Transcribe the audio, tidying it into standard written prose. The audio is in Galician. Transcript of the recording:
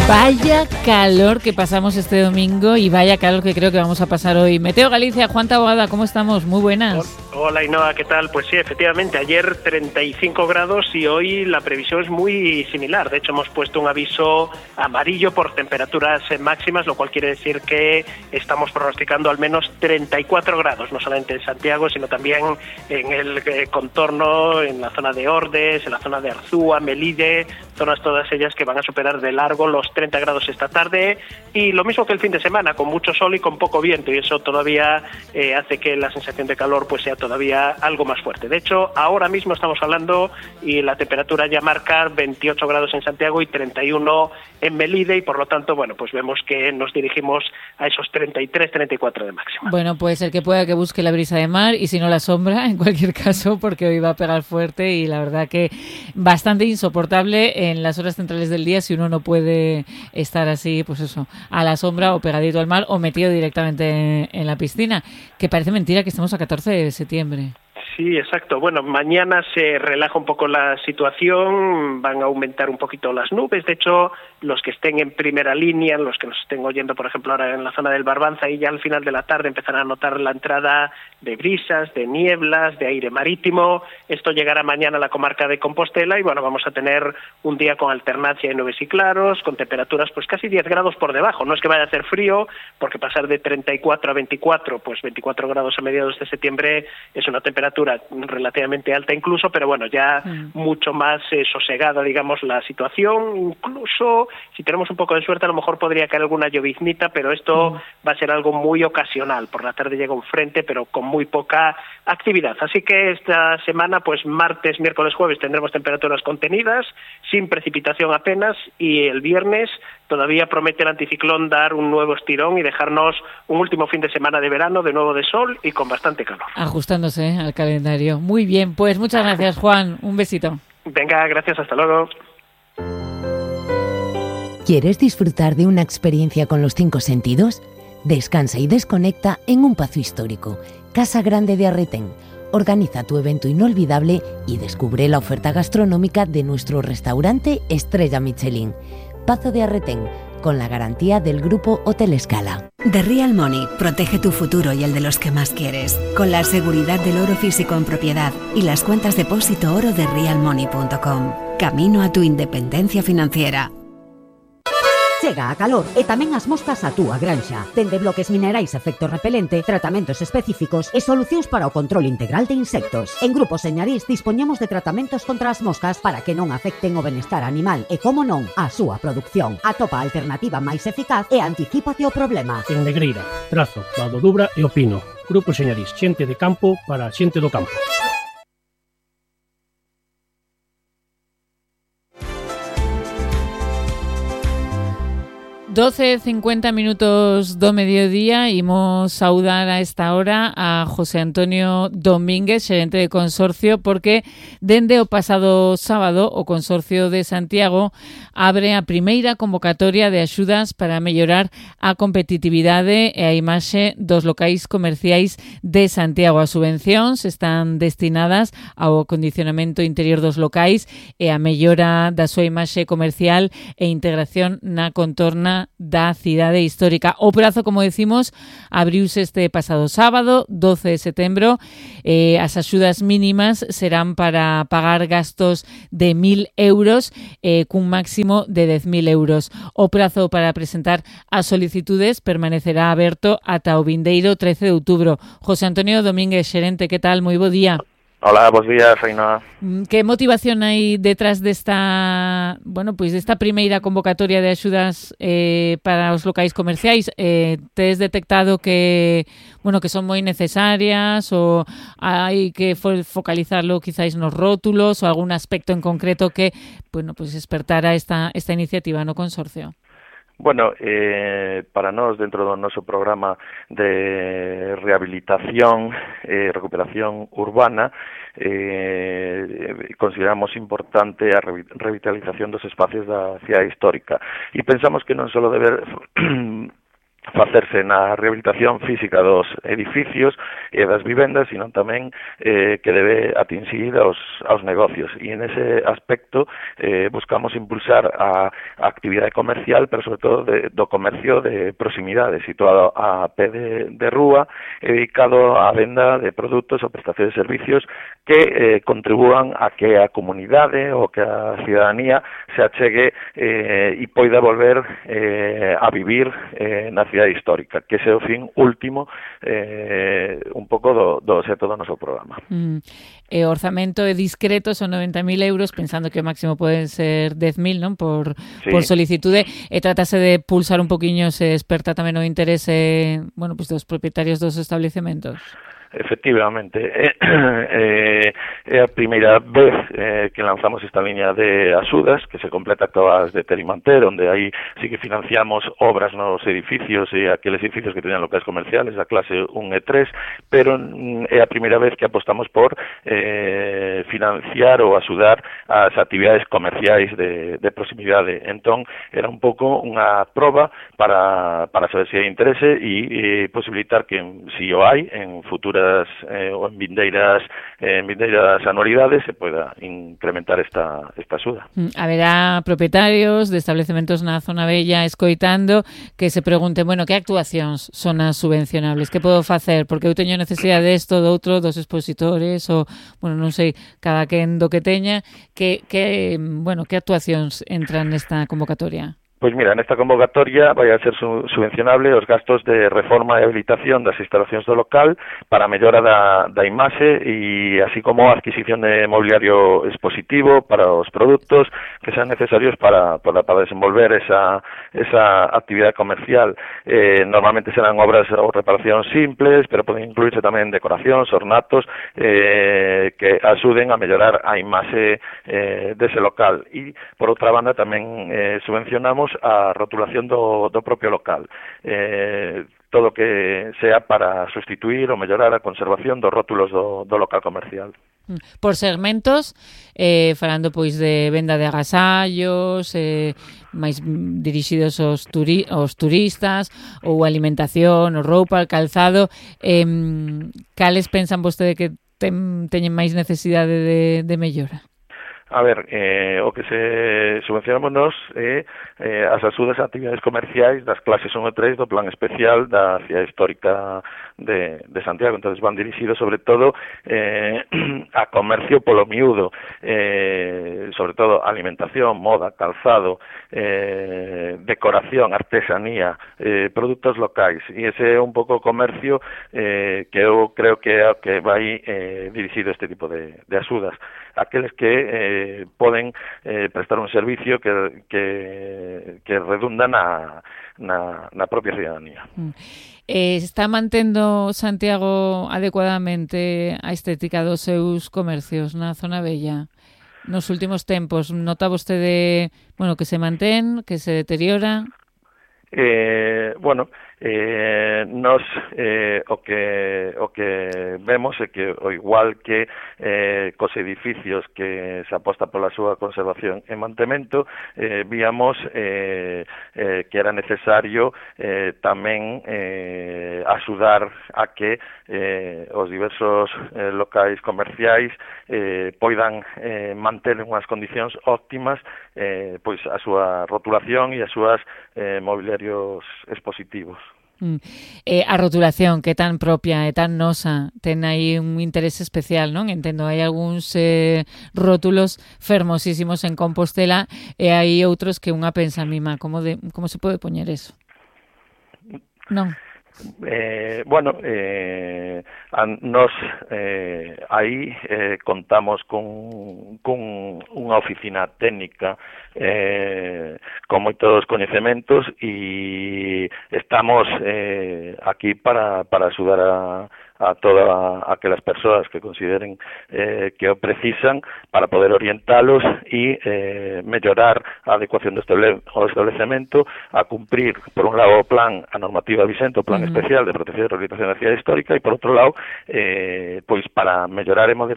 Vaya calor que pasamos este domingo y vaya calor que creo que vamos a pasar hoy. Meteo Galicia, Juan Taboada, ¿cómo estamos? Muy buenas. Hola Ainhoa, ¿qué tal? Pues sí, efectivamente, ayer 35 grados y hoy la previsión es muy similar. De hecho, hemos puesto un aviso amarillo por temperaturas máximas, lo cual quiere decir que estamos pronosticando al menos 34 grados, no solamente en Santiago, sino también en el contorno, en la zona de Ordes, en la zona de Arzúa, Melide, zonas todas ellas que van a superar de largo los 30 grados esta tarde, y lo mismo que el fin de semana, con mucho sol y con poco viento, y eso todavía hace que la sensación de calor pues sea todavía algo más fuerte. De hecho, ahora mismo estamos hablando y la temperatura ya marca 28 grados en Santiago y 31 en Melide, y por lo tanto, bueno, pues vemos que nos dirigimos a esos 33, 34 de máxima. Bueno, pues el que pueda que busque la brisa de mar y si no la sombra, en cualquier caso, porque hoy va a pegar fuerte y la verdad que bastante insoportable en las horas centrales del día si uno no puede estar así, pues eso, a la sombra o pegadito al mar o metido directamente en la piscina, que parece mentira que estamos a 14 de septiembre. Sí, exacto. Bueno, mañana se relaja un poco la situación, van a aumentar un poquito las nubes. De hecho, los que estén en primera línea, los que nos estén oyendo, por ejemplo, ahora en la zona del Barbanza, y ya al final de la tarde empezarán a notar la entrada de brisas, de nieblas, de aire marítimo. Esto llegará mañana a la comarca de Compostela y, bueno, vamos a tener un día con alternancia de nubes y claros, con temperaturas pues casi 10 grados por debajo. No es que vaya a hacer frío, porque pasar de 34 a 24, pues 24 grados a mediados de septiembre es una temperatura relativamente alta incluso, pero bueno, ya mucho más sosegada, digamos, la situación. Incluso, si tenemos un poco de suerte, a lo mejor podría caer alguna lloviznita, pero esto va a ser algo muy ocasional. Por la tarde llega un frente, pero con muy poca actividad. Así que esta semana, pues martes, miércoles, jueves, tendremos temperaturas contenidas, sin precipitación apenas, y el viernes todavía promete el anticiclón dar un nuevo estirón y dejarnos un último fin de semana de verano, de nuevo de sol y con bastante calor. Ajustándose al calendario. Muy bien, pues muchas gracias, Juan. Un besito. Venga, gracias, hasta luego. ¿Quieres disfrutar de una experiencia con los 5 sentidos? Descansa y desconecta en un pazo histórico, Casa Grande de Arretén. Organiza tu evento inolvidable y descubre la oferta gastronómica de nuestro restaurante Estrella Michelin. Pazo de Arretén, con la garantía del Grupo Hotel Escala. The Real Money protege tu futuro y el de los que más quieres, con la seguridad del oro físico en propiedad y las cuentas depósito oro de realmoney.com. Camino a tu independencia financiera. Chega a calor e tamén as moscas á túa granxa. Dende bloques minerais efecto repelente, tratamentos específicos e solucións para o control integral de insectos. En Grupo Señarís dispoñemos de tratamentos contra as moscas para que non afecten o benestar animal e, como non, a súa produción. Atopa a alternativa máis eficaz e anticípate o problema. En Negreira, Trazo, Vado Dubra e Opino. Grupo Señarís, xente de campo para xente do campo. 12:50 minutos do mediodía. Imos saudar a esta hora a José Antonio Domínguez, xerente de Consorcio, porque dende o pasado sábado o Consorcio de Santiago abre a primeira convocatoria de axudas para mellorar a competitividade e a imaxe dos locais comerciais de Santiago. As subvencións están destinadas ao acondicionamento interior dos locais e a mellora da súa imaxe comercial e integración na contorna da cidade histórica. O prazo, como decimos, abriuse este pasado sábado, 12 de setembro. As axudas mínimas serán para pagar gastos de 1.000 euros cun máximo de 10.000 euros. O prazo para presentar as solicitudes permanecerá aberto ata o vindeiro 13 de outubro. José Antonio Domínguez, xerente, que tal? Moi bo día. Hola, bons días, Ainhoa. Que motivación hai detrás desta, bueno, pois desta primeira convocatoria de axudas para os locais comerciais? Tes detectado que, bueno, que son moi necesarias ou hai que focalizarlo quizáis nos rótulos ou algún aspecto en concreto que, bueno, pois despertara esta iniciativa no consorcio? Bueno, para nós, dentro do noso programa de rehabilitación e recuperación urbana, consideramos importante a revitalización dos espacios da cidade histórica e pensamos que non só debe facerse na rehabilitación física dos edificios e das vivendas, sino tamén que debe atingir aos negocios. E en ese aspecto buscamos impulsar a actividade comercial, pero sobre todo do comercio de proximidade, situado a pé de rúa, dedicado á venda de produtos ou prestación de servicios que contribúan a que a comunidade ou que a cidadanía se achegue e poida volver a vivir na cidade histórica, que ese é o fin último un pouco do obxecto do noso programa. O orzamento é discreto, son 90.000 euros, pensando que o máximo poden ser 10.000, non? Por solicitude, e trátase de pulsar un poquinho, se desperta tamén o interese, bueno, pues dos propietarios dos establecementos. Efectivamente, é a primeira vez que lanzamos esta liña de axudas, que se completa coas de Terimanter, onde aí sí que financiamos obras nos edificios e aqueles edificios que tenían locais comerciales da clase 1 e 3, pero é a primeira vez que apostamos por financiar ou axudar as actividades comerciais de proximidade. Entón, era un pouco unha proba para saber se hai interese e posibilitar que, si o hai, en futuras ou en vindeiras anualidades se poida incrementar esta axuda. Haberá propietarios de establecementos na zona bella escoitando que se pregunten, bueno, que actuacións son as subvencionables? Que podo facer? Porque eu teño necesidade desto, do outro, dos expositores, ou, bueno, non sei, cada quen do que teña, que actuacións entran nesta convocatoria? Pois mira, nesta convocatoria vai a ser subvencionable os gastos de reforma e habilitación das instalacións do local para a mellora da imaxe e así como a adquisición de mobiliario expositivo para os produtos que sean necesarios para desenvolver esa actividade comercial. Normalmente serán obras ou reparacións simples, pero poden incluirse tamén decoracións, ornatos que axuden a mellorar a imaxe dese local. E, por outra banda, tamén subvencionamos a rotulación do propio local. Todo que sea para sustituir ou mellorar a conservación dos rótulos do local comercial. Por segmentos, falando pois de venda de agasallos, máis dirixidos aos turistas, ou alimentación, ou roupa, calzado, cales pensan vostede que teñen máis necesidade de mellora? A ver, o que se subvencionamos nos é as axudas a actividades comerciais das clases 1 e 3 do plan especial da cidade histórica de Santiago. Entonces van dirixidos sobre todo a comercio polo miúdo, sobre todo alimentación, moda, calzado, decoración, artesanía, produtos locais. E ese é un pouco o comercio que eu creo que é o que vai dirixido este tipo de axudas. Aqueles que poden prestar un servicio que redunda na propia cidadanía. Está mantendo Santiago adecuadamente a estética dos seus comercios na zona bella? Nos últimos tempos, nota vostede, bueno, que se mantén, que se deteriora? Nos o que vemos é que o igual que cos edificios que se aposta pola súa conservación e mantemento, víamos que era necesario tamén axudar a que os diversos locais comerciais poidan manter unhas condicións óptimas pois a súa rotulación e as súas mobiliarios expositivos. A rotulación, que tan propia e tan nosa, ten aí un interese especial, non? Entendo, hai algúns rótulos fermosísimos en Compostela e hai outros que unha pensa, mima, como se pode poñer eso? Non? Nos aí contamos con unha oficina técnica con moitos coñecementos e estamos aquí para axudar a todas aquelas persoas que consideren que o precisan para poder orientalos e mellorar a adecuación do establecemento a cumprir, por un lado, a normativa vigente, o plan especial de protección e rehabilitación da cidade histórica, e por outro lado, pois para mellorar e